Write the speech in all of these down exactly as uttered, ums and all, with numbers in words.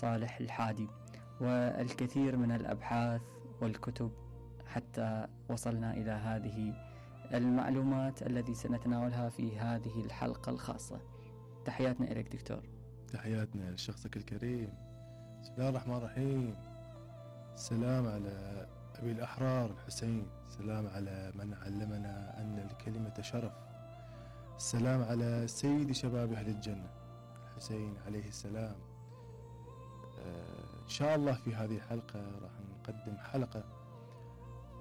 صالح الحادي والكثير من الأبحاث والكتب حتى وصلنا إلى هذه المعلومات التي سنتناولها في هذه الحلقة الخاصة. تحياتنا إليك دكتور. تحياتنا لشخصك الكريم. بسم الله الرحمن الرحيم. السلام على أبي الأحرار الحسين، السلام على من علمنا أن الكلمة شرف، السلام على سيد شباب أهل الجنة الحسين عليه السلام. آه إن شاء الله في هذه الحلقة راح نقدم حلقة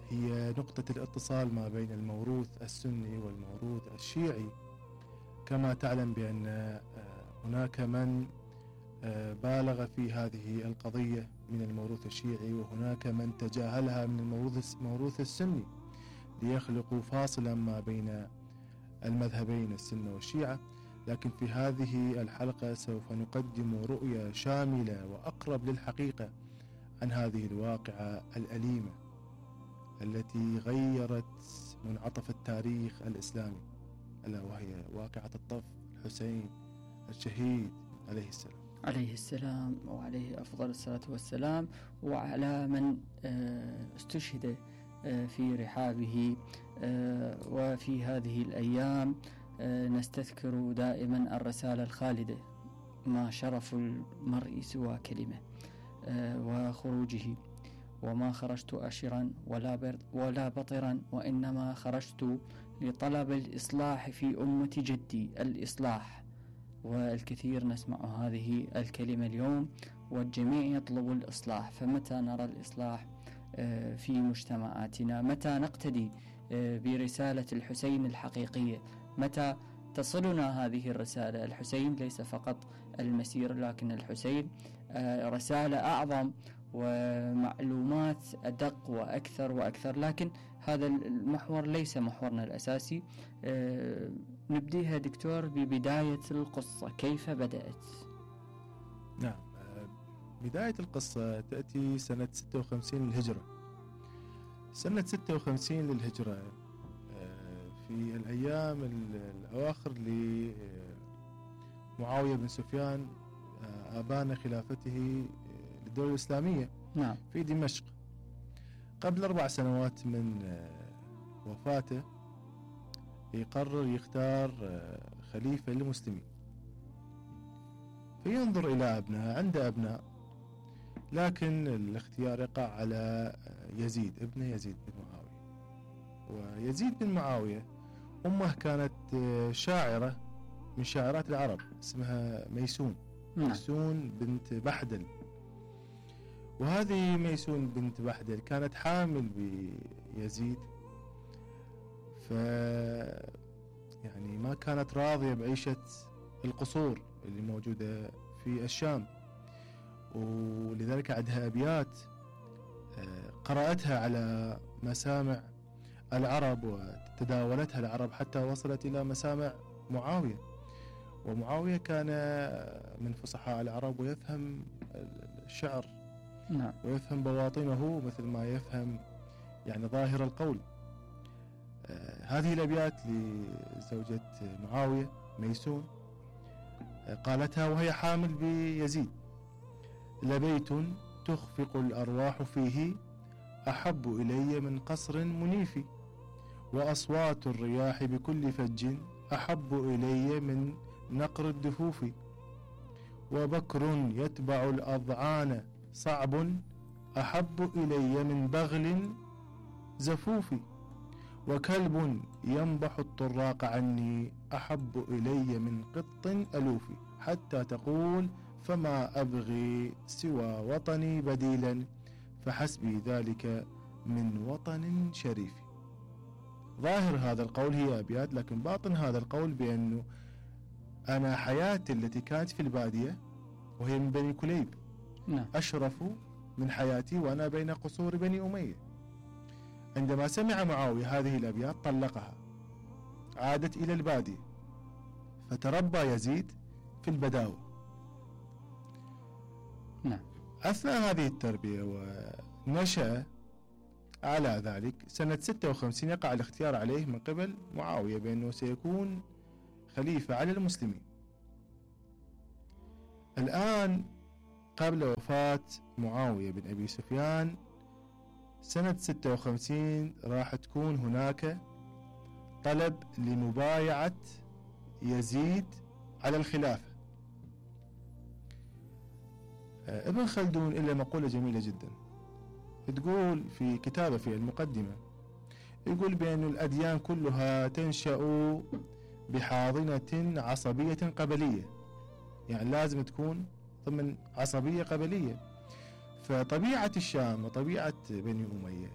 هي نقطة الاتصال ما بين الموروث السني والموروث الشيعي. كما تعلم بأن آه هناك من آه بالغ في هذه القضية من الموروث الشيعي، وهناك من تجاهلها من الموروث الموروث السني ليخلقوا فاصلا ما بين المذهبين السنة والشيعة. لكن في هذه الحلقة سوف نقدم رؤية شاملة وأقرب للحقيقة عن هذه الواقعة الأليمة التي غيرت منعطف التاريخ الإسلامي، ألا وهي واقعة الطف الحسين الشهيد عليه السلام عليه السلام وعليه أفضل الصلاة والسلام، وعلى من استشهد في رحابه. وفي هذه الأيام نستذكر دائما الرسالة الخالدة: ما شرف المرء سوى كلمة، وخروجه: وما خرجت أشرا ولا, ولا بطرا، وإنما خرجت لطلب الإصلاح في أمة جدي، الإصلاح. والكثير نسمع هذه الكلمة اليوم، والجميع يطلب الإصلاح. فمتى نرى الإصلاح في مجتمعاتنا؟ متى نقتدي برسالة الحسين الحقيقية؟ متى تصلنا هذه الرسالة؟ الحسين ليس فقط المسير، لكن الحسين رسالة أعظم ومعلومات أدق وأكثر وأكثر. لكن هذا المحور ليس محورنا الأساسي. نبديها دكتور ببداية القصة، كيف بدأت؟ نعم، بداية القصة تأتي سنة ستة وخمسين للهجرة. سنة ستة وخمسين للهجرة في الأيام الأواخر لمعاوية بن سفيان آبان خلافته للدولة الإسلامية نعم. في دمشق. قبل أربع سنوات من وفاته يقرر يختار خليفة للمسلمين، فينظر إلى أبناء، عنده أبناء، لكن الاختيار يقع على يزيد ابن يزيد بن معاوية. ويزيد بن معاوية أمه كانت شاعرة من شاعرات العرب اسمها ميسون نعم. ميسون بنت بحدل. وهذه ميسون بنت بحدل كانت حامل بيزيد، ف يعني ما كانت راضية بعيشة القصور اللي موجودة في الشام، ولذلك عندها أبيات قرأتها على مسامع العرب وتداولتها العرب حتى وصلت إلى مسامع معاوية. ومعاوية كان من فصحاء العرب ويفهم الشعر نعم. ويفهم بواطنه مثل ما يفهم يعني ظاهر القول. آه هذه الأبيات لزوجة معاوية ميسون آه قالتها وهي حامل بيزيد: لبيت تخفق الأرواح فيه أحب إلي من قصر منيف، وأصوات الرياح بكل فج أحب إلي من نقر الدفوف، وبكر يتبع الأضعان صعب أحب إلي من بغل زفوف، وكلب ينبح الطراق عني أحب إلي من قط ألوف، حتى تقول فما أبغي سوى وطني بديلا فحسبي ذلك من وطن شريف. ظاهر هذا القول هي أبيات، لكن باطن هذا القول بأنه أنا حياتي التي كانت في البادية وهي من بني كليب نعم. أشرف من حياتي وأنا بين قصور بني أمية. عندما سمع معاوية هذه الأبيات طلقها، عادت إلى البادية، فتربى يزيد في البداوة. نعم. أثناء هذه التربية ونشأ على ذلك سنة ستة وخمسين يقع الاختيار عليه من قبل معاوية بأنه سيكون خليفة على المسلمين. الآن قبل وفاة معاوية بن أبي سفيان سنة ستة وخمسين راح تكون هناك طلب لمبايعة يزيد على الخلافة. ابن خلدون له مقولة جميلة جدا تقول في كتابه في المقدمة، يقول بأن الأديان كلها تنشأ بحاضنة عصبية قبلية، يعني لازم تكون ضمن عصبية قبلية. فطبيعة الشام وطبيعة بني أمية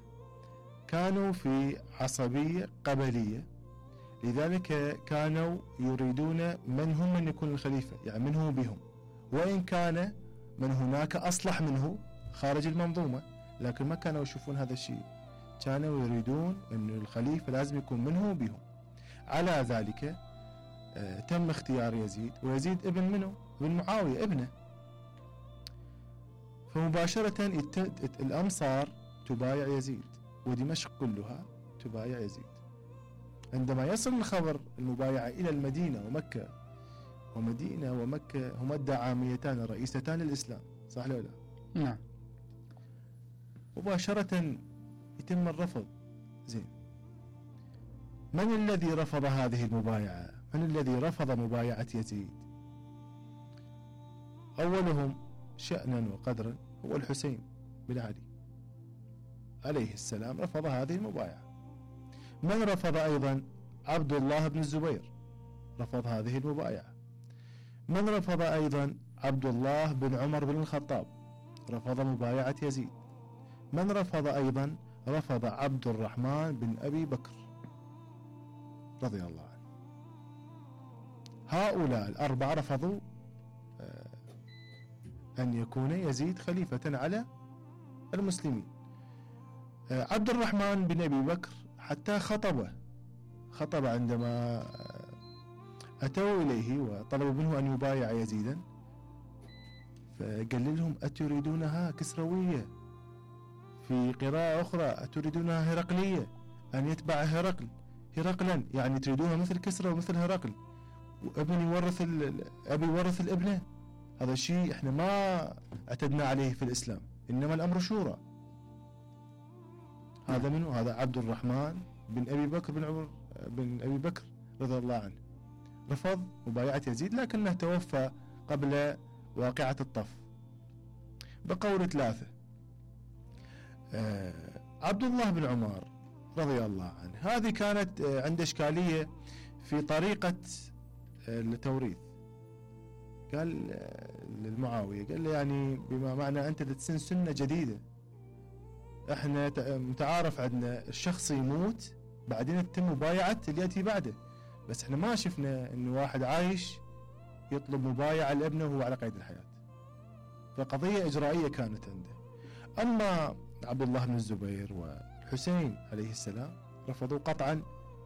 كانوا في عصبية قبلية، لذلك كانوا يريدون من هم من يكون الخليفة، يعني من هو بهم، وإن كان من هناك أصلح منه خارج المنظومة، لكن ما كانوا يشوفون هذا الشيء، كانوا يريدون أن الخليفة لازم يكون منه بهم. على ذلك آه تم اختيار يزيد، ويزيد ابن منه؟ ابن معاوية ابنه. فمباشرة الأمصار تبايع يزيد، ودمشق كلها تبايع يزيد. عندما يصل الخبر المبايعة إلى المدينة ومكة، ومدينة ومكة هما الدعاميتان الرئيستان للإسلام، صح ولا لا؟ نعم. مباشرة يتم الرفض. زين، من الذي رفض هذه المبايعة؟ من الذي رفض مبايعة يزيد؟ أولهم شأنا وقدرا هو الحسين بن علي عليه السلام، رفض هذه المبايعة. من رفض أيضا؟ عبد الله بن الزبير رفض هذه المبايعة. من رفض أيضا؟ عبد الله بن عمر بن الخطاب رفض مبايعة يزيد. من رفض أيضا؟ رفض عبد الرحمن بن أبي بكر رضي الله عنه. هؤلاء الأربعة رفضوا أن يكون يزيد خليفة على المسلمين. عبد الرحمن بن أبي بكر حتى خطبه خطب عندما أتوا إليه وطلبوا منه أن يبايع يزيدا، فقال لهم أتريدونها كسروية؟ في قراءة أخرى أتريدونها هرقلية، أن يتبع هرقل هرقلا، يعني تريدونها مثل كسرى ومثل هرقل، وابن يورث أبي يورث الابنة. هذا الشيء احنا ما اعتدنا عليه في الإسلام، إنما الأمر شورى. هذا منه؟ هذا عبد الرحمن بن أبي بكر بن عمر بن أبي بكر رضي الله عنه، رفض مبايعة يزيد، لكنه توفى قبل واقعة الطف. بقول ثلاثة. آه عبد الله بن عمر رضي الله عنه، هذه كانت آه عنده إشكالية في طريقة آه التوريث. قال آه للمعاوية، قال له يعني بما معنى أنت تسن سنة جديدة، احنا متعارف عندنا الشخص يموت بعدين تتم مبايعة اللي يأتي بعده، بس احنا ما شفنا انه واحد عايش يطلب مبايعة لابنه وهو على قيد الحياة. فقضية إجرائية كانت عنده. أما عبد الله بن الزبير والحسين عليه السلام رفضوا قطعا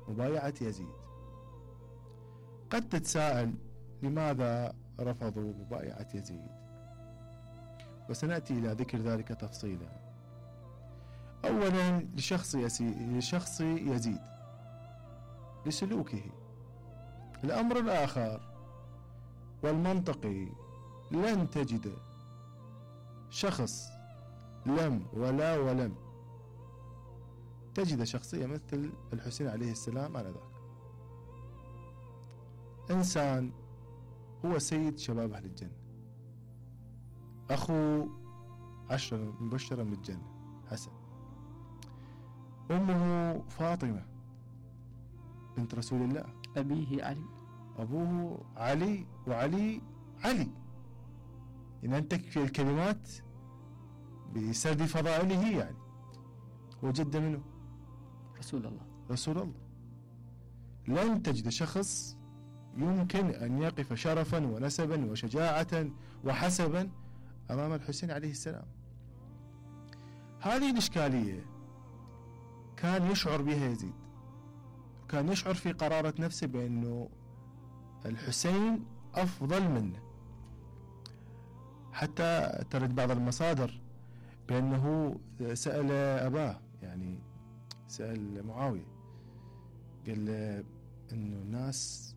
مبايعة يزيد. قد تتساءل لماذا رفضوا مبايعة يزيد، وسنأتي إلى ذكر ذلك تفصيلا. أولا لشخص, لشخص يزيد، لسلوكه. الأمر الآخر والمنطقي، لن تجد شخص لم ولا ولم تجد شخصية مثل الحسين عليه السلام على ذاك. إنسان هو سيد شباب أهل الجنة، أخو عشرة مبشرا بالجنة حسن، أمه فاطمة بنت رسول الله، أبيه علي، أبوه علي، وعلي علي. إن أنت في الكلمات بسرد فضائله، يعني هو جد منه رسول الله رسول الله. لن تجد شخص يمكن أن يقف شرفا ونسبا وشجاعة وحسبا أمام الحسين عليه السلام. هذه الإشكالية كان يشعر بها يزيد، كان يشعر في قرارة نفسه بأنه الحسين أفضل منه. حتى ترد بعض المصادر بأنه سأل أباه، يعني سأل معاوية، قال له أنه الناس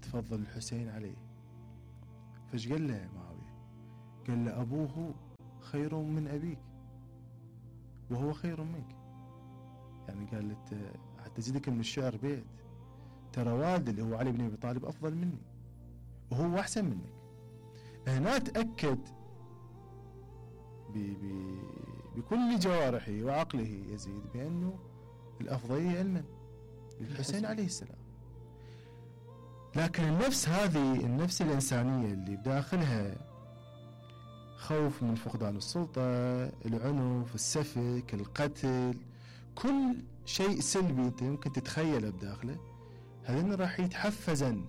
تفضل الحسين عليه. فايش قال له معاوية؟ قال له أبوه خير من أبيك وهو خير منك. يعني قال له حتى زيدك من الشعر بيت، ترى والدي اللي هو علي بن أبي طالب أفضل مني وهو أحسن منك. هنا تأكد بكل جوارحه وعقله يزيد بأنه الأفضلية لمن؟ للحسين عليه السلام. لكن النفس هذه، النفس الإنسانية اللي بداخلها خوف من فقدان السلطة، العنف، السفك، القتل، كل شيء سلبي أنت يمكن تتخيله بداخله، هذين راح يتحفزن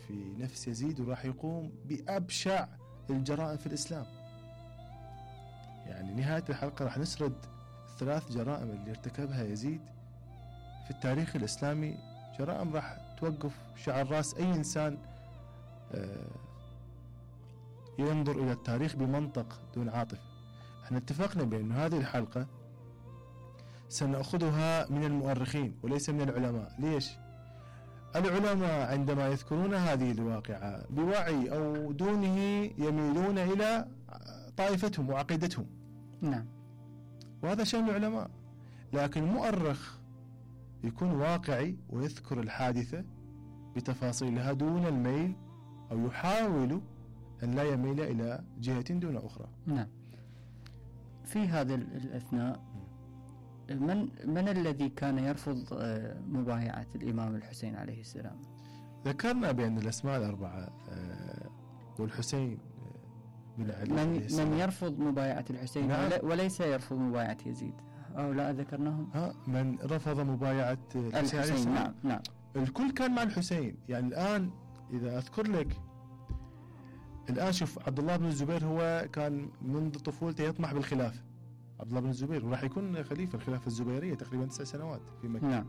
في نفس يزيد وراح يقوم بأبشع الجرائم في الإسلام. يعني نهاية الحلقة راح نسرد الثلاث جرائم اللي ارتكبها يزيد في التاريخ الإسلامي، جرائم راح توقف شعر راس أي إنسان ينظر إلى التاريخ بمنطق دون عاطفة. احنا اتفقنا بأن هذه الحلقة سنأخذها من المؤرخين وليس من العلماء. ليش؟ العلماء عندما يذكرون هذه الواقعة بوعي أو دونه يميلون إلى طائفتهم وعقيدتهم. نعم، وهذا شأن العلماء. لكن المؤرخ يكون واقعي ويذكر الحادثة بتفاصيلها دون الميل، أو يحاول أن لا يميل إلى جهة دون أخرى. نعم. في هذا الأثناء من من الذي كان يرفض مبايعة الإمام الحسين عليه السلام؟ ذكرنا بأن الأسماء الأربعة والحسين بن علي من, من يرفض مبايعة الحسين؟ نعم. وليس يرفض مبايعة يزيد، أو لا ذكرناهم؟ ها، من رفض مبايعة الحسين, الحسين نعم نعم الكل كان مع الحسين. يعني الآن إذا أذكر لك، الآن شوف عبد الله بن الزبير هو كان منذ طفولته يطمح بالخلافة، عبد الله بن الزبير، وراح يكون خليفة الخلافة الزبيرية تقريبا تسع سنوات في مكة. نعم.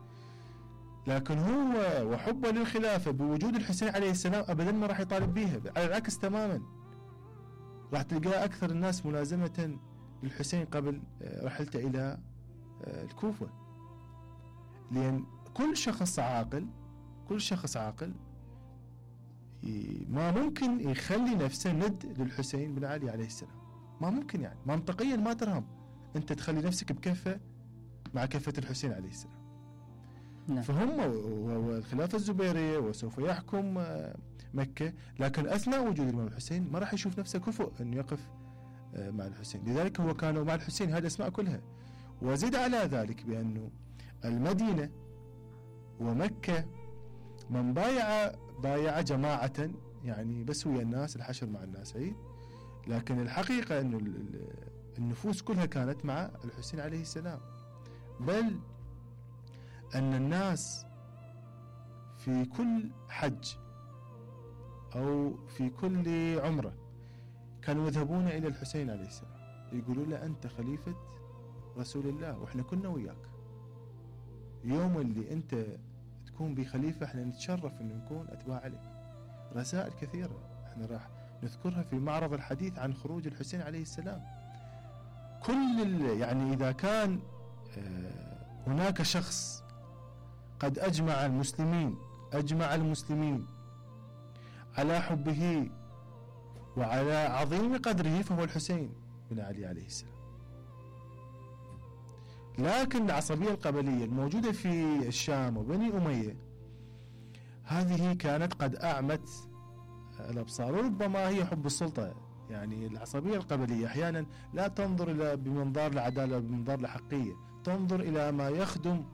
لكن هو وحبه للخلافة بوجود الحسين عليه السلام أبدا ما راح يطالب بيها، على العكس تماما. راح تلقى أكثر الناس ملازمة للحسين قبل رحلته إلى الكوفة، لأن كل شخص عاقل كل شخص عاقل ما ممكن يخلي نفسه ند للحسين بن علي عليه السلام. ما ممكن، يعني منطقيا ما ترهم أنت تخلي نفسك بكفة مع كفة الحسين عليه السلام. نعم. فهم والخلافة الزبيرية وسوف يحكم مكة، لكن أثناء وجود الإمام الحسين ما راح يشوف نفسه كفؤ أن يقف مع الحسين، لذلك هو كانوا مع الحسين هذه الأسماء كلها. وزد على ذلك بأنه المدينة ومكة من بايع بايع جماعة، يعني بس ويا الناس، الحشر مع الناس عيد، لكن الحقيقة أنه النفوس كلها كانت مع الحسين عليه السلام. بل أن الناس في كل حج أو في كل عمرة كانوا يذهبون إلى الحسين عليه السلام يقولوا له أنت خليفة رسول الله وإحنا كنا وياك، يوم اللي أنت تكون بخليفة إحنا نتشرف أن نكون أتباع لك. رسائل كثيرة إحنا راح نذكرها في معرض الحديث عن خروج الحسين عليه السلام. كل يعني إذا كان هناك شخص قد أجمع المسلمين أجمع المسلمين على حبه وعلى عظيم قدره فهو الحسين بن علي عليه السلام. لكن العصبية القبلية الموجودة في الشام وبني أمية هذه كانت قد أعمت الأبصار، وربما هي حب السلطة. يعني العصبية القبلية أحيانا لا تنظر إلى بمنظار العدالة بمنظار الحقية، تنظر إلى ما يخدم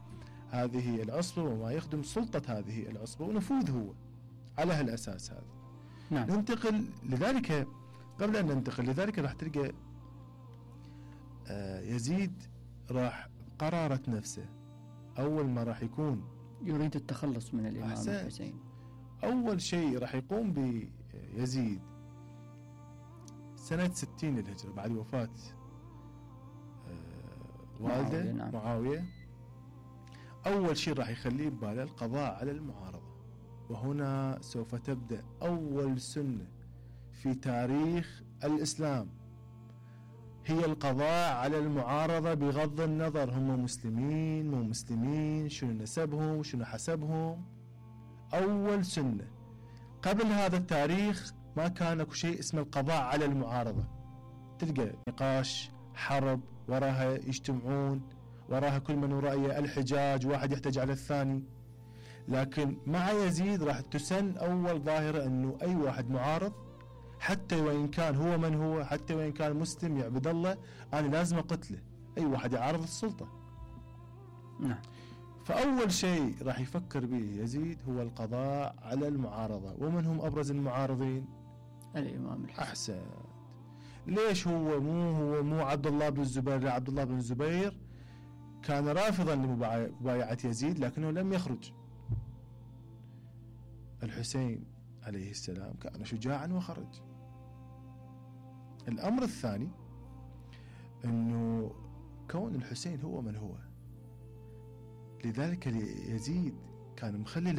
هذه العصبة وما يخدم سلطة هذه العصبة ونفوذ هو على هالأساس هذا. نعم. ننتقل لذلك، قبل أن ننتقل لذلك راح تلقى يزيد راح قرارة نفسه أول ما راح يكون يريد التخلص من الإمام أحسن. الحسين. أول شيء راح يقوم بيزيد سنة ستين للهجرة بعد وفاة والده معاوية, نعم. معاوية. أول شيء راح يخليه بباله القضاء على المعارضة، وهنا سوف تبدأ أول سنة في تاريخ الإسلام هي القضاء على المعارضة بغض النظر هم مسلمين مو مسلمين، شنو نسبهم شنو حسبهم. أول سنة. قبل هذا التاريخ ما كان اكو شيء اسمه القضاء على المعارضة. تلقى نقاش، حرب، وراها يجتمعون، وراها كل من رأيه الحجاج، واحد يحتج على الثاني. لكن مع يزيد راح تسن أول ظاهرة أنه أي واحد معارض حتى وإن كان هو من هو، حتى وإن كان مسلم يعبد الله، أنا لازم أقتله أي واحد يعارض السلطة. نعم. فأول شيء راح يفكر به يزيد هو القضاء على المعارضة. ومن هم أبرز المعارضين؟ الإمام الحسين. أحسن. ليش هو مو هو مو عبد الله بن الزبير؟ لا، عبد الله بن الزبير كان رافضا لمبايعة يزيد لكنه لم يخرج. الحسين عليه السلام كان شجاعا وخرج. الأمر الثاني أنه كون الحسين هو من هو، لذلك يزيد كان مخلي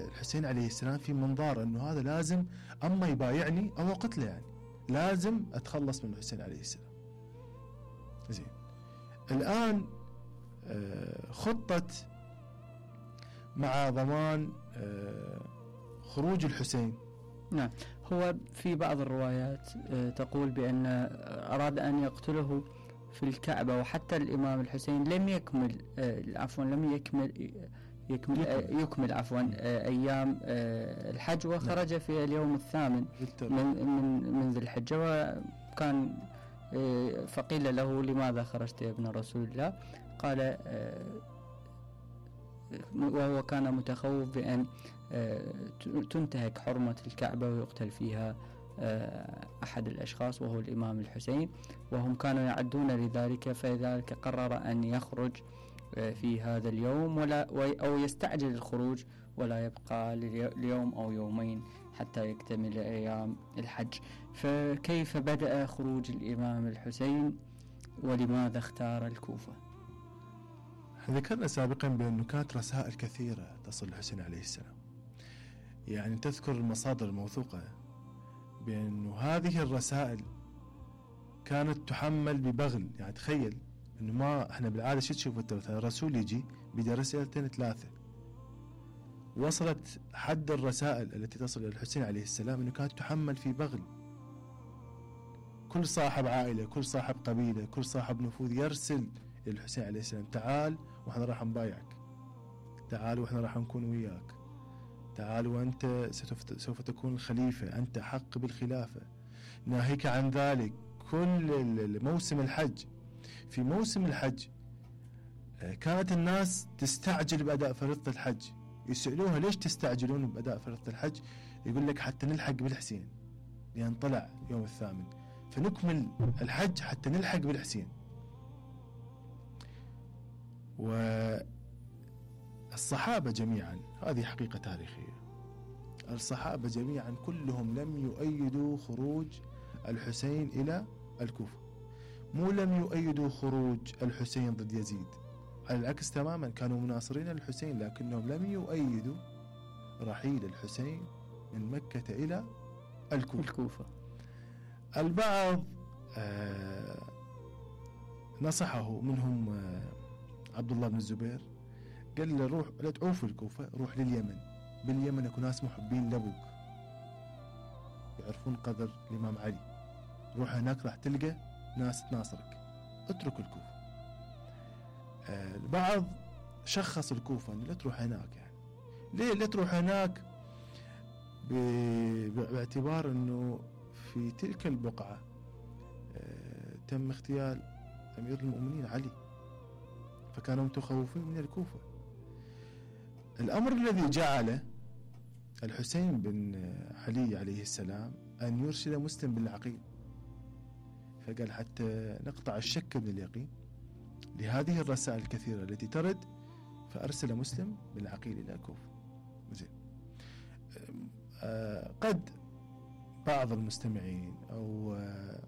الحسين عليه السلام في منظار أنه هذا لازم أما يبايعني أو قتله، يعني لازم أتخلص من الحسين عليه السلام. زين، الآن خطة مع ضمان خروج الحسين. نعم. هو في بعض الروايات تقول بأن أراد أن يقتله في الكعبة، وحتى الإمام الحسين لم يكمل عفوا لم يكمل يكمل يكمل عفوا أيام الحج، وخرج في اليوم الثامن من من من ذي الحجة. وكان فقيل له لماذا خرجت يا ابن رسول الله؟ قال، وهو كان متخوف بأن تنتهك حرمة الكعبة ويقتل فيها أحد الأشخاص وهو الإمام الحسين، وهم كانوا يعدون لذلك، فلذلك قرر أن يخرج في هذا اليوم ولا أو يستعجل الخروج ولا يبقى ليوم أو يومين حتى يكتمل أيام الحج. فكيف بدأ خروج الإمام الحسين ولماذا اختار الكوفة؟ ذكرنا سابقا بأنه كانت رسائل كثيرة تصل الحسين عليه السلام، يعني تذكر المصادر الموثوقة بأنه هذه الرسائل كانت تحمل ببغل. يعني تخيل أنه ما احنا بالعادة شو تشوف الرسول يجي بدأ رسالتين ثلاثة، وصلت حد الرسائل التي تصل إلى الحسين عليه السلام أنه كانت تحمل في بغل. كل صاحب عائلة، كل صاحب قبيلة، كل صاحب نفوذ يرسل إلى الحسين عليه السلام: تعال وإحنا راح نبايعك، تعال وإحنا راح نكون وياك، تعال وأنت سوف تكون الخليفة، أنت حق بالخلافة، ناهيك عن ذلك. كل موسم الحج، في موسم الحج كانت الناس تستعجل بأداء فريضة الحج، يسألوها: ليش تستعجلون بأداء فريضة الحج؟ يقول لك: حتى نلحق بالحسين، لأن طلع يوم الثامن، فنكمل الحج حتى نلحق بالحسين. والصحابة جميعا، هذه حقيقة تاريخية، الصحابة جميعا كلهم لم يؤيدوا خروج الحسين إلى الكوفة، مو لم يؤيدوا خروج الحسين ضد يزيد، على العكس تماما، كانوا مناصرين للحسين لكنهم لم يؤيدوا رحيل الحسين من مكة إلى الكوفة. الكوفة. البعض آه نصحه، منهم آه عبد الله بن الزبير، قال له: روح لا تعوف الكوفة، روح لليمن، باليمن اكو ناس محبين لابوك يعرفون قدر الإمام علي، روح هناك راح تلقى ناس تناصرك، اترك الكوفة. آه البعض شخص الكوفة لا تروح هناك، يعني ليه لا تروح هناك؟ باعتبار انه في تلك البقعة آه تم اغتيال أمير المؤمنين علي، فكانوا متخوفين من الكوفة. الأمر الذي جعل الحسين بن علي عليه السلام أن يرسل مسلم بن العقيل، فقال: حتى نقطع الشك من اليقين لهذه الرسائل الكثيرة التي ترد، فأرسل مسلم بن العقيل إلى الكوفة. زين. آه قد بعض المستمعين أو آه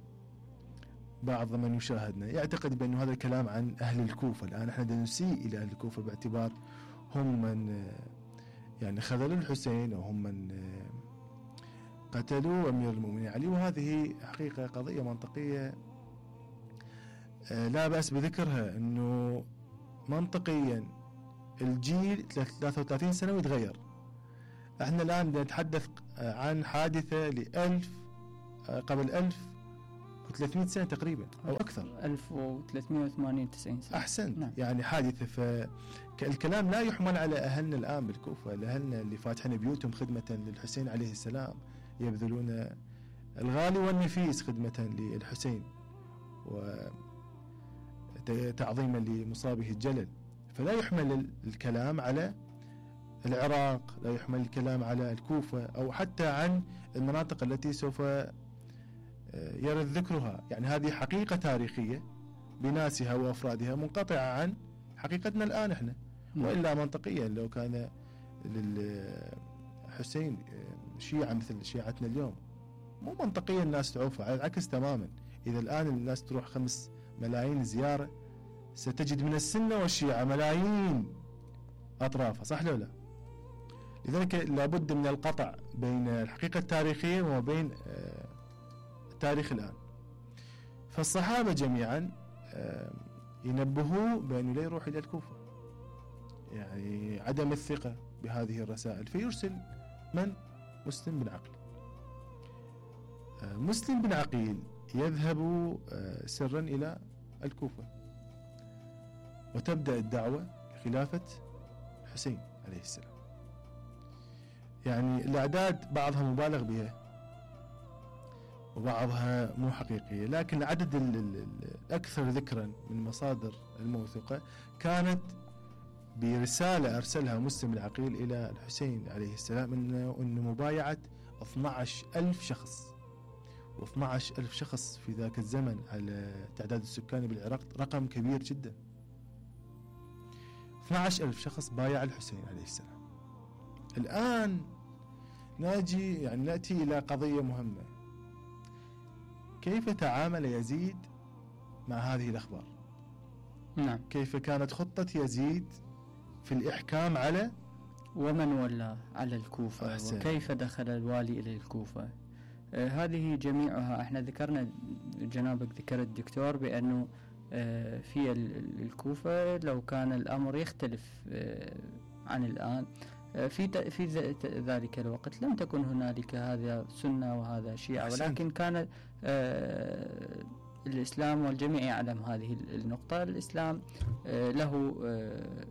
بعض من يشاهدنا يعتقد بأن هذا الكلام عن أهل الكوفة. الآن احنا نسيء إلى أهل الكوفة باعتبار هم من يعني خذلوا الحسين، وهم من قتلوا أمير المؤمنين علي، وهذه حقيقة قضية منطقية لا بأس بذكرها، أنه منطقيا الجيل ثلاثة وثلاثين سنة ويتغير. احنا الآن نتحدث عن حادثة لألف قبل ألف وثلاثمئة سنة تقريبا أو أكثر. ألف وثلاثمئة وثمانية وتسعين سنة. أحسنت. نعم. يعني حادثة. فالكلام لا يحمل على أهلنا الآن بالكوفة، لأهلنا اللي فاتحين بيوتهم خدمة للحسين عليه السلام، يبذلون الغالي والنفيس خدمة للحسين وتعظيما لمصابه الجلل. فلا يحمل الكلام على العراق، لا يحمل الكلام على الكوفة أو حتى عن المناطق التي سوف يرد ذكرها. يعني هذه حقيقة تاريخية بناسها وأفرادها منقطعة عن حقيقتنا الآن إحنا. وإلا منطقيا لو كان للحسين شيعة مثل شيعتنا اليوم، مو منطقيا الناس تعوفه، على العكس تماما. إذا الآن الناس تروح خمس ملايين زيارة، ستجد من السنة والشيعة ملايين أطرافها، صح لو لا؟ لذلك لابد من القطع بين الحقيقة التاريخية وبين التاريخ الآن. فالصحابة جميعا ينبهوا بأنه لا يروح إلى الكوفة، يعني عدم الثقة بهذه الرسائل، فيرسل من؟ مسلم بن عقيل. مسلم بن عقيل يذهب سرا إلى الكوفة، وتبدأ الدعوة لخلافة الحسين عليه السلام. يعني الأعداد بعضها مبالغ بها وبعضها مو حقيقية، لكن العدد الأكثر ذكرا من مصادر الموثوقة كانت برسالة أرسلها مسلم بن عقيل إلى الحسين عليه السلام إنه إنه مبايعة اثني عشر ألف شخص. و12 ألف شخص في ذاك الزمن على تعداد السكاني بالعراق رقم كبير جدا. اثني عشر ألف شخص بايع الحسين عليه السلام. الآن ناجي يعني نأتي إلى قضية مهمة، كيف تعامل يزيد مع هذه الأخبار؟ نعم. كيف كانت خطة يزيد في الإحكام على ومن ولى على الكوفة؟ أحسن. وكيف دخل الوالي إلى الكوفة؟ آه هذه جميعها احنا ذكرنا، جنابك ذكرت دكتور بأنه آه في الكوفة لو كان الأمر يختلف آه عن الآن. آه في في ذلك الوقت لم تكن هنالك هذا سنة وهذا شيعة، ولكن كان آه الإسلام، والجميع يعلم هذه النقطة، الإسلام آه له آه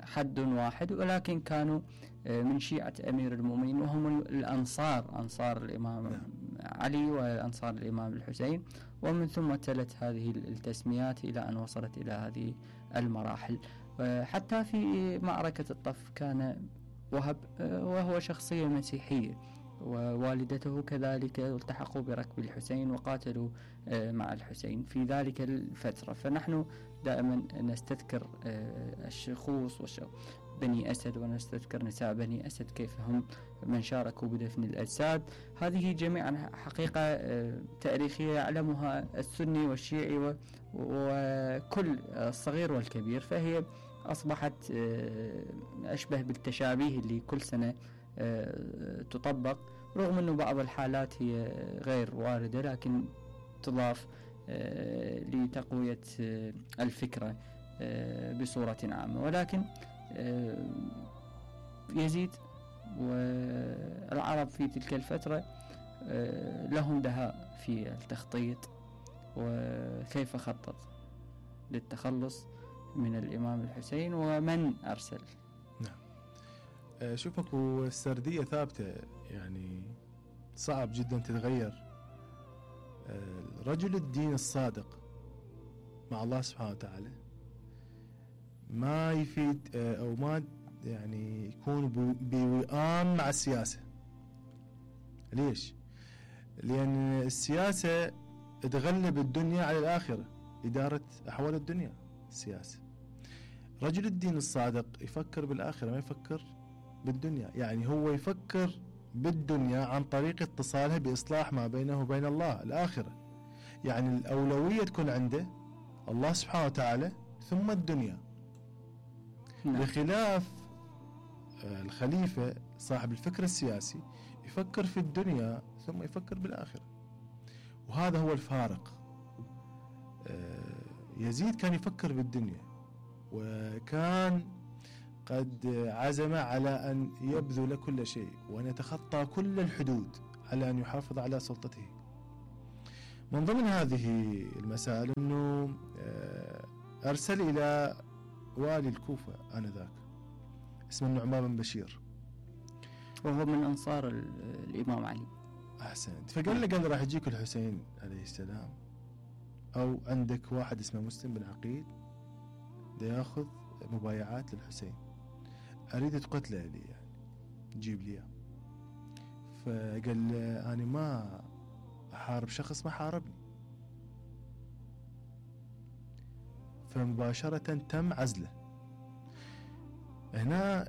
حد واحد، ولكن كانوا من شيعة أمير المؤمنين وهم الأنصار، أنصار الإمام علي وأنصار الإمام الحسين، ومن ثم تلت هذه التسميات إلى أن وصلت إلى هذه المراحل. حتى في معركة الطف كان وهب وهو شخصية مسيحية، ووالدته كذلك التحقوا بركب الحسين وقاتلوا مع الحسين في ذلك الفترة. فنحن دائما نستذكر الشخوص بني أسد، ونستذكر نساء بني أسد كيف هم من شاركوا بدفن الأجساد. هذه جميعا حقيقة تاريخية يعلمها السني والشيعي وكل الصغير والكبير، فهي أصبحت أشبه بالتشابيه اللي كل سنة تطبق، رغم أنه بعض الحالات هي غير واردة لكن تضاف لتقوية الفكرة بصورة عامة. ولكن يزيد والعرب في تلك الفترة لهم دهاء في التخطيط، وكيف خطط للتخلص من الإمام الحسين ومن أرسل. نعم. شوفك والسردية ثابتة، يعني صعب جدا تتغير. رجل الدين الصادق مع الله سبحانه وتعالى ما يفيد أو ما يعني يكون بوئام مع السياسة. ليش؟ لأن السياسة تغلب الدنيا على الآخرة، إدارة أحوال الدنيا السياسة. رجل الدين الصادق يفكر بالآخرة، ما يفكر بالدنيا. يعني هو يفكر بالدنيا عن طريق اتصالها بإصلاح ما بينه وبين الله الآخرة. يعني الأولوية تكون عنده الله سبحانه وتعالى ثم الدنيا. نعم. بخلاف الخليفة صاحب الفكر السياسي يفكر في الدنيا ثم يفكر بالآخرة، وهذا هو الفارق. يزيد كان يفكر بالدنيا، وكان قد عزم على أن يبذل كل شيء وأن يتخطى كل الحدود على أن يحافظ على سلطته من ضمن هذه المسائل أنه أرسل إلى والي الكوفة آنذاك اسمه النعمان بن بشير، وهو من أنصار الإمام علي. أحسنت. فقال له قال راح يجيك الحسين عليه السلام، أو عندك واحد اسمه مسلم بن عقيل دا ياخذ مبايعات للحسين، أريد تقتله لي يعني تجيب لي. فقال له أنا ما أحارب شخص ما حاربني. فمباشرة تم عزله. هنا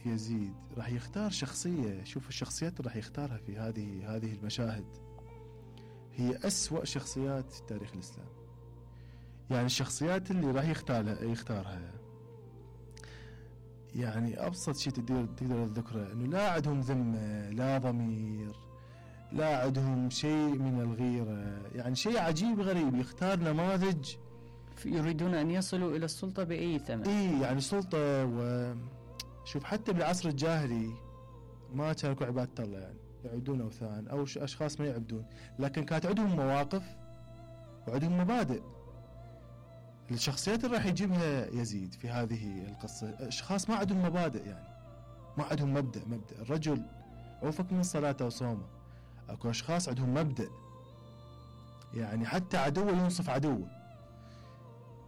يزيد راح يختار شخصية، شوف الشخصيات اللي راح يختارها في هذه هذه المشاهد هي أسوأ شخصيات في تاريخ الإسلام. يعني الشخصيات اللي راح يختارها يختارها يعني أبسط شيء تقدر تقدر تذكره إنه لا عندهم ذمة، لا ضمير، لا عندهم شيء من الغيرة، يعني شيء عجيب غريب. يختار نماذج يريدون أن يصلوا إلى السلطة بأي ثمن. إيه يعني سلطة. وشوف حتى بالعصر الجاهلي ما كانوا عبادة الله، يعني يعبدون أوثان أو أشخاص ما يعبدون، لكن كانت عندهم مواقف وعندهم مبادئ. الشخصيات اللي راح يجيبها يزيد في هذه القصة أشخاص ما عندهم مبادئ، يعني ما عندهم مبدأ. مبدأ الرجل أوفق من صلاته وصومه. أكو أشخاص عندهم مبدأ، يعني حتى عدوه ينصف عدوه.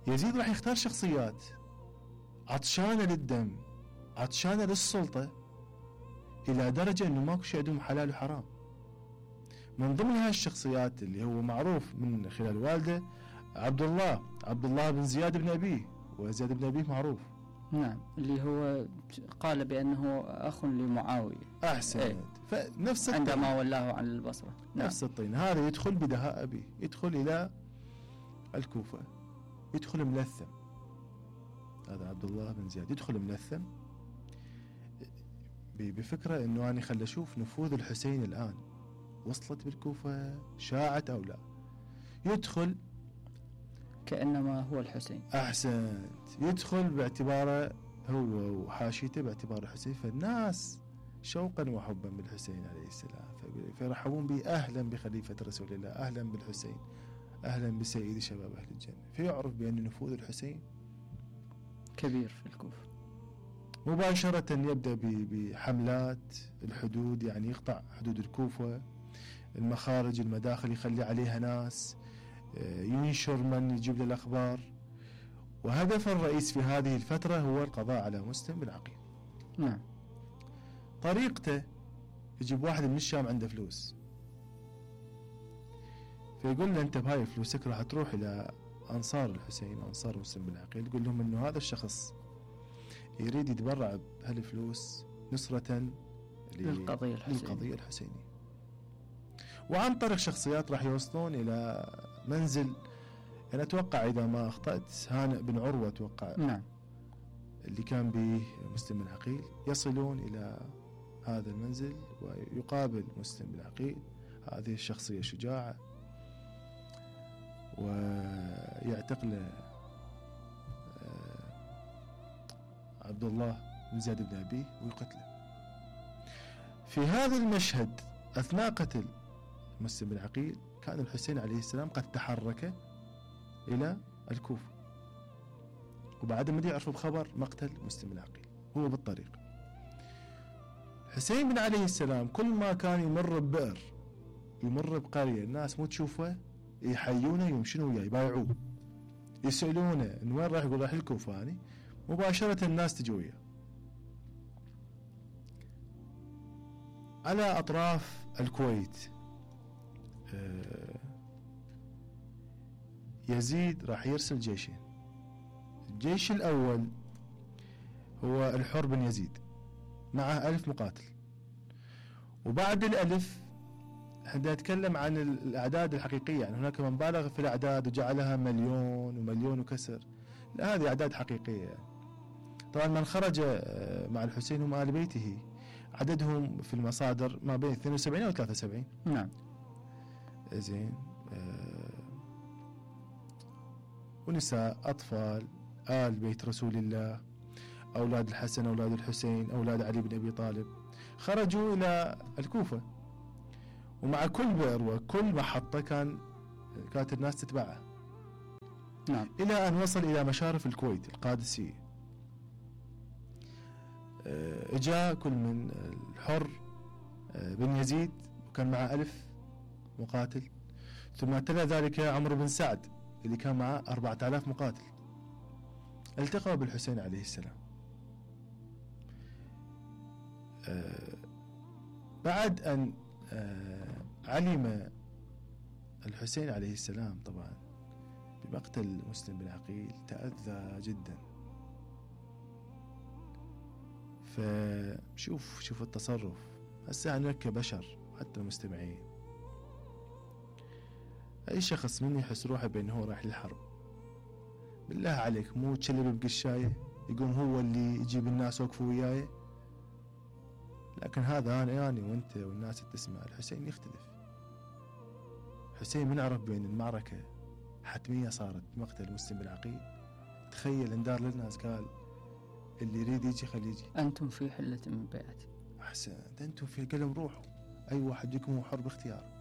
يزيد راح يختار شخصيات عطشانة للدم، عطشانة للسلطة، إلى درجة أنه ماكو شيء عندهم حلال وحرام. من ضمن هاي الشخصيات اللي هو معروف من خلال والده عبد الله عبد الله بن زياد بن أبيه، وزياد بن أبيه معروف. نعم، اللي هو قال بأنه أخ لمعاوية. أحسن. ايه. فنفس عندما ولاه عن البصرة. نفس نعم. الطين. هذا يدخل بدهاء أبيه، يدخل إلى الكوفة، يدخل ملثم. هذا عبد الله بن زياد يدخل ملثم بفكرة إنه أنا خل أشوف نفوذ الحسين الآن وصلت بالكوفة، شاعت أو لا. يدخل كأنما هو الحسين. أحسنت. يدخل باعتباره هو وحاشيته باعتباره الحسين، فالناس شوقا وحبا بالحسين عليه السلام فيرحبون به. أهلا بخليفة رسول الله، أهلا بالحسين، أهلا بسيد شباب أهل الجنة. فيعرف بأن نفوذ الحسين كبير في الكوفة. مباشرة يبدأ بحملات الحدود، يعني يقطع حدود الكوفة، المخارج المداخل يخلي عليها ناس، ينشر من يجيب له الأخبار. وهدف الرئيس في هذه الفترة هو القضاء على مسلم بن عقيل. نعم. طريقته يجيب واحد من الشام عنده فلوس، فيقول له أنت بهاي فلوسك راح تروح إلى أنصار الحسين، أنصار مسلم بن عقيل، تقول لهم أنه هذا الشخص يريد يتبرع بهالفلوس نصرة للقضية الحسينية. للقضية الحسينية. وعن طريق شخصيات راح يوصلون إلى منزل، أنا أتوقع إذا ما أخطأت هانئ بن عروة أتوقع. نعم. اللي كان به مسلم بن عقيل. يصلون إلى هذا المنزل ويقابل مسلم بن عقيل هذه الشخصية شجاعة، ويعتقل عبد الله بن زياد بن أبيه ويقتله. في هذا المشهد أثناء قتل مسلم بن عقيل كان الحسين عليه السلام قد تحرك إلى الكوفة، وبعد ما يعرفوا بخبر مقتل مسلم بن عقيل هو بالطريق. حسين بن عليه السلام كل ما كان يمر ببئر، يمر بقرية، الناس مو تشوفه يحيونه يمشون وياه يبايعوه، يسألونه إن وين راح، يقول راح الكوفة. يعني مباشرة الناس تجي وياه. على أطراف الكويت يزيد راح يرسل جيشين. الجيش الأول هو الحر بن يزيد معه ألف مقاتل، وبعد الألف احنا نتكلم عن الأعداد الحقيقية، يعني هناك من بالغ في الأعداد وجعلها مليون ومليون وكسر، لا هذه أعداد حقيقية يعني. طبعا من خرج مع الحسين هم آل بيته عددهم في المصادر ما بين اثنين وسبعين أو ثلاثة وسبعين. نعم. زين. آه ونساء، أطفال، آل بيت رسول الله، أولاد الحسن، أولاد الحسين، أولاد علي بن أبي طالب، خرجوا إلى الكوفة. ومع كل بئر وكل محطة كان كانت الناس تتبعه. نعم. إلى أن وصل إلى مشارف الكويت القادسية. اجا كل من الحر بن يزيد وكان معه ألف مقاتل، ثم تلا ذلك عمرو بن سعد اللي كان معه أربعة آلاف مقاتل، التقوا بالحسين عليه السلام. بعد أن علم الحسين عليه السلام طبعا بمقتل مسلم بن عقيل تأذى جدا. فشوف شوف التصرف هسه أنا كبشر حتى المستمعين، أي شخص من يحس روحه بأنه هو رايح للحرب بالله عليك مو تشلب بقشاية يقوم هو اللي يجيب الناس وقفوا وياي. لكن هذا أنا يعني وأنت والناس تسمع الحسين يختلف. حسين من عرف بأن المعركة حتمية صارت بمقتل مسلم بن عقيل، تخيل اندار للناس قال اللي يريد يجي خليه يجي، أنتم في حلة من بيعتي. أحسنت، أنتم في قلم روحوا، أي واحد بكم هو حر باختياره.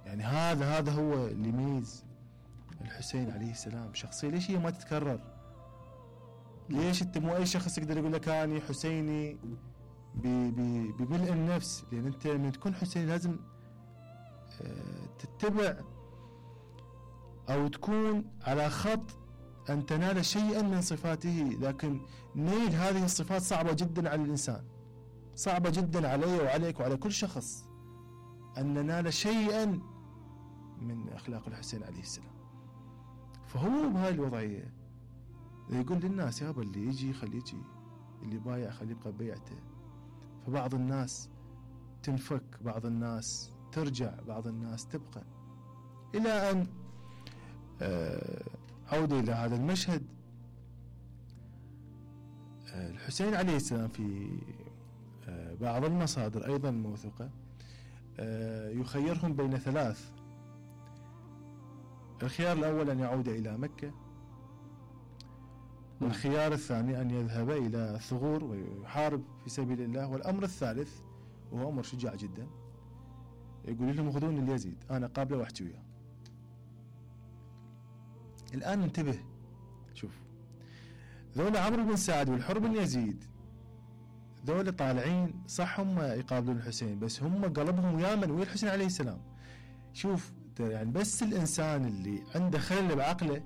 يعني هذا هذا هو اللي يميز الحسين عليه السلام شخصية. ليش هي ما تتكرر؟ ليش انت مو اي شخص يقدر يقول لك اني حسيني بملء النفس؟ لان انت من تكون حسيني لازم تتبع او تكون على خط ان تنال شيئا من صفاته، لكن نيل هذه الصفات صعبة جدا على الانسان، صعبة جدا علي وعليك وعلى كل شخص ان ننال شيئا من اخلاق الحسين عليه السلام. فهو بهاي الوضعية يقول للناس يابا اللي يجي خليه يجي، اللي بايع خليه يبقى ببيعته. فبعض الناس تنفك، بعض الناس ترجع، بعض الناس تبقى، إلى أن عودة إلى هذا المشهد. الحسين عليه السلام في بعض المصادر أيضا موثوقة يخيرهم بين ثلاث. الخيار الأول أن يعود إلى مكة، والخيار الثاني أن يذهب إلى الثغور ويحارب في سبيل الله، والأمر الثالث وهو أمر شجاع جدا يقول لهم خذوني اليزيد أنا قابله واحكي وياه. الآن انتبه، شوف ذولا عمرو بن سعد والحر بن يزيد ذولا طالعين صح هم يقابلون الحسين، بس هم قلبهم ويا من؟ ويا الحسين عليه السلام. شوف يعني بس الإنسان اللي عنده خلل بعقله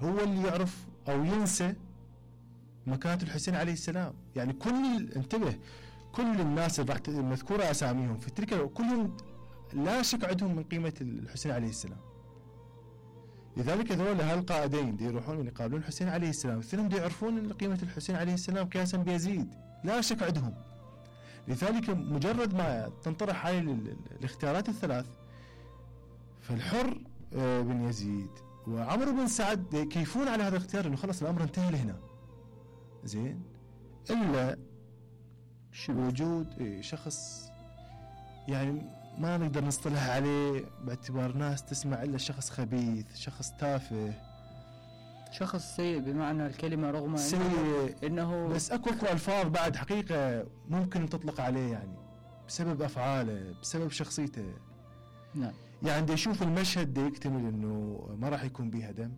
هو اللي يعرف أو ينسى مكانة الحسين عليه السلام. يعني كل انتبه كل الناس اللي راح مذكورة أساميهم في تلك كلهم لا شك عندهم من قيمة الحسين عليه السلام. لذلك ذولا هالقائدين دي يروحون من يقابلون الحسين عليه السلام، اثنين دي يعرفون قيمة الحسين عليه السلام قياسا بيزيد لا شك عندهم. لذلك مجرد ما تنطرح هاي الاختيارات الثلاث، فالحر بن يزيد وعمرو بن سعد يكيفون على هذا الاختيار انه خلص الامر انتهى لهنا زين، الا وجود شخص يعني ما نقدر نصطلح عليه باعتبار ناس تسمع الا شخص خبيث، شخص تافه، شخص سيء بمعنى الكلمة، رغم سيء انه بس اكو اكو الفاظ بعد حقيقة ممكن تطلق عليه يعني بسبب افعاله بسبب شخصيته. نعم. يعني دي يشوف المشهد دي يكتمل انه ما راح يكون بيها دم،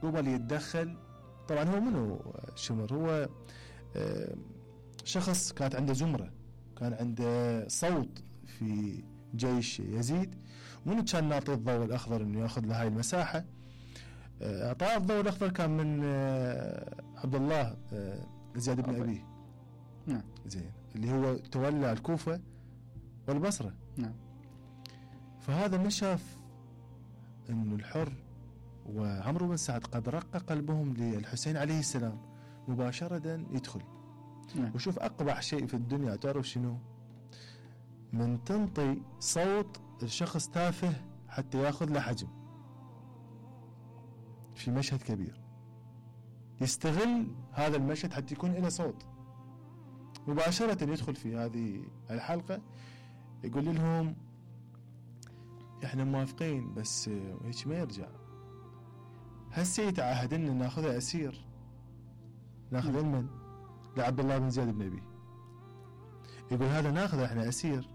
قبل يتدخل. طبعا هو منو شمر؟ هو شخص كانت عنده زمرة، كان عنده صوت في جيش يزيد، منو كان ناطي الضوء الاخضر انه ياخذ له هاي المساحة. اعطاه الضوء الاخضر كان من عبد الله زياد بن ابيه. نعم. زين، اللي هو تولى الكوفة والبصرة. نعم. فهذا ما شاف انه الحر وعمرو بن سعد قد رق قلبهم للحسين عليه السلام، مباشرة يدخل. نعم. وشوف اقبح شيء في الدنيا تعرف شنو؟ من تنطي صوت الشخص تافه حتى ياخذ له حجم في مشهد كبير، يستغل هذا المشهد حتى يكون له صوت. مباشرة يدخل في هذه الحلقة يقول لهم احنا موافقين بس هيك ما يرجع، هسه يتعهد ان ناخذه اسير، ناخذ من لعبد الله بن زياد بن ابي. يقول هذا ناخذه احنا اسير،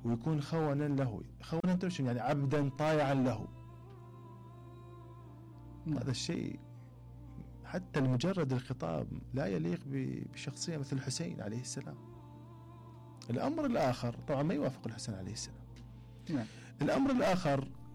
ويكون خونا له. خونا ترشم يعني عبدا طائعا له. هذا الشيء حتى لمجرد الخطاب لا يليق بشخصية مثل الحسين عليه السلام. الأمر الآخر طبعا ما يوافق الحسين عليه السلام. نعم. الأمر الآخر